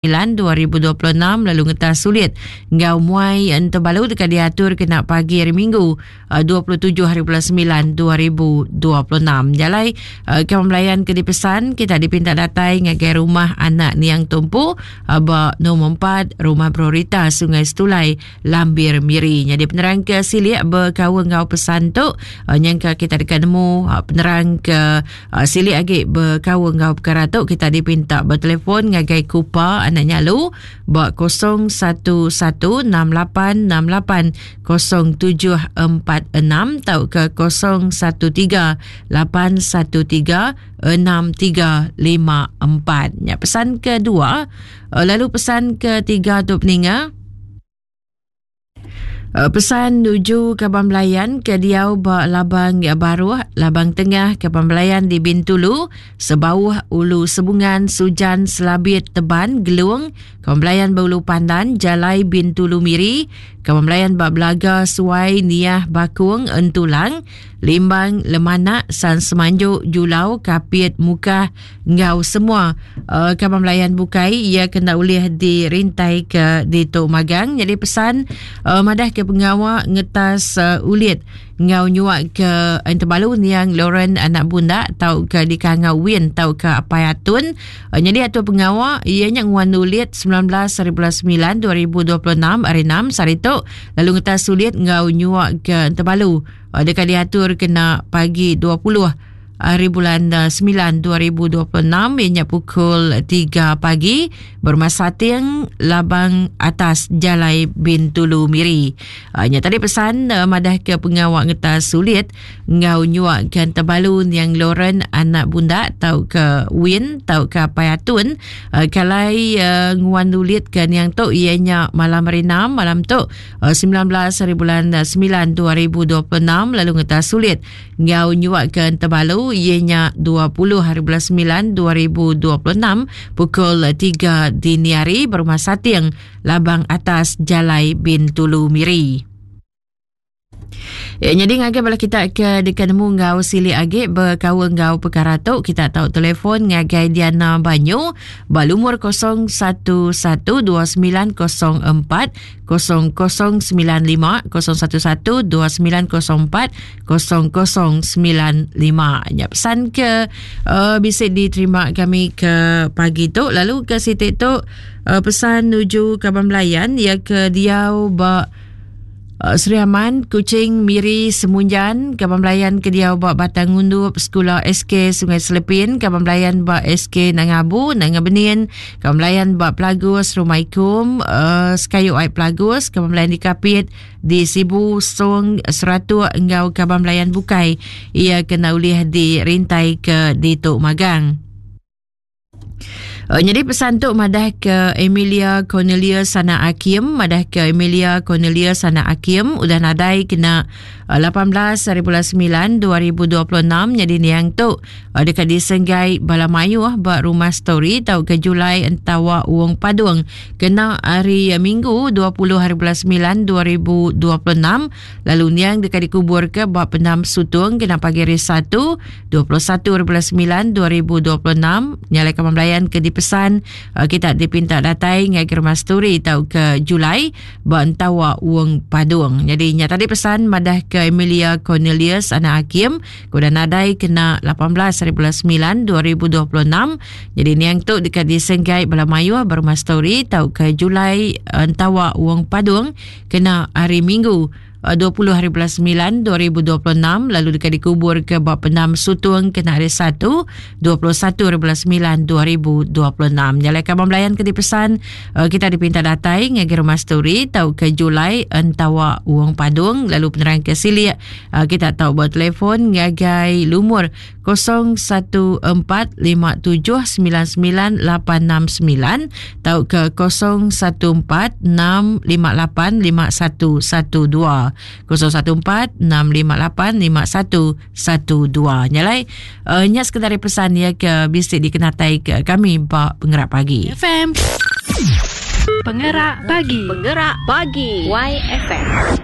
2026 lalu ngetas sulit enggau muai entebalu deka diatur kena pagi hari Minggu 27 hari bulan 9 2026. Jalai kami melayan ke dipesan kita dipinta datai ngagai rumah anak Niang Tumpu ba nombor 4 Rumah Brorita Sungai Setulai Lambir Miri. Nyadi penerang ke silik bekaul enggau pesan tu nyangka kita deka nemu penerang ke Silik agi bekaul enggau pekara tu kita dipinta betelefon ngagai Kupa Anak Nyalu ba 01168680746 tauka 013 813 6354. Nya pesan kedua lalu pesan ketiga tu peninga. Eh, pesan nuju kaban belayan ke diau ba Labang Baruh, Labang Tengah, kaban belayan di Bintulu, Sebauh, Ulu Sebungan, Sujan, Selabit, Teban, Gelung, kaban belayan ba Ulu Pandan, Jalai Bintulu Miri, kaban belayan ba Belaga, Suai, Niah, Bakung, Entulang, Limbang, Lemanak, San Semanjuk, Julau, Kapit, Mukah, enggau semua uh, kaban belayan bukai ia kena ulih dirintai ke ditu magang jadi pesan uh, madah ke pengawa ngetas uh, ulit enggau nyuak ke entebalu niang Lauren anak bunda tau ke dikangau Win tau ke Apai Atun uh, jadi atur pengawa ia nya nguan ulit 19 hari bulan 9 2026 hari 6 sehari tu lalu ngetas ulit enggau nyuak ke entebalu uh, deka diatur kena pagi 20 hari bulan 9 2026 iya nya pukul 3 pagi berumah Sating Labang Atas Jalai Bintulu Miri. Uh, nya tadi pesan uh, madah ke pengawa ngetas sulit enggau nyuak ke tebalu niang Lauren anak bunda tau ke Win tau ke Apai Atun uh, kalai uh, nguan ulit ke niang tu iya nya malam hari 6 malam tu uh, 19 hari bulan 9 2026 lalu ngetas sulit enggau nyuaka Entebalu iya nya 20 hari bulan 9 2026 pukul 3 dini hari berumah Sating Labang Atas Jalai Bintulu Miri. Ya, jadi ngagai bala kita ke deka nemu enggau silik agi bekaul enggau perkara tu kita tau telefon ngagai Diana Banyu ba lumur 011 2904 0095 011 2904 0095. Nya pesan ke uh, bisa diterima kami ke pagi tu lalu ke siti tu uh, pesan nuju kaban belayan ya ke diau ba uh, Sri Aman, Kuching, Miri, Semunjan, kaban belayan ke diau ba Batang Undup, Sekula SK Sungai Selepin, kaban belayan ba SK Nangabu, Nanga Benin, Kaban belayan ba Pelagus, Rumah Ikum, uh, Sekayu Ai Pelagus, kaban belayan di Kapit, di Sibu, Song, Seratuk enggau kaban belayan bukai ia kena ulih dirintai ke ditu magang. Uh, jadi pesan tu madah ke Emilia Cornelius Sana Akim, madah ke Emilia Cornelius Sana Akim udah nadai kena 18 hari bulan 9 2026 nyadi niang tu deka disenggai bala mayuh ba Rumah Story tauka Julai Entawa Wong Padung kena hari Minggu 20 hari bulan 9 2026 lalu niang deka dikuburka ba Pendam Sutung kena pagi hari Satu 21 hari bulan 9 2026 nyalai kaban belayan ke dipesan kita dipinta datai ngagai Rumah Story tauka Julai ba Entawa Wong Padung. Jadi nya tadi pesan madah ke Emilia Cornelius anak Hakim ke udah nadai kena 18 hari bulan 9 2026. Jadi niang tu deka disenggai bala mayuh ba rumah story tauka Julai Entawa Wong Padung kena hari Minggu 20 hari bulan 9 2026 lalu deka dikubur ke ba Pendam Sutung kena hari Satu 21 hari bulan 9 2026. Nya alai kaban belayan ke dipesan eh, kita dipinta datai ngagai rumah story tauka Julai Entawa Wong Padung lalu penerang ke silik eh, kita tau bertelefon ngagai lumur 0145799869 tauka 0146585112 0146585112 12. Nya alai uh, nya sekedar pesan ya ke bisi dikenatai ke kami ba Pengerak Pagi. FM. Pengerak Pagi. Pengerak Pagi. YFM.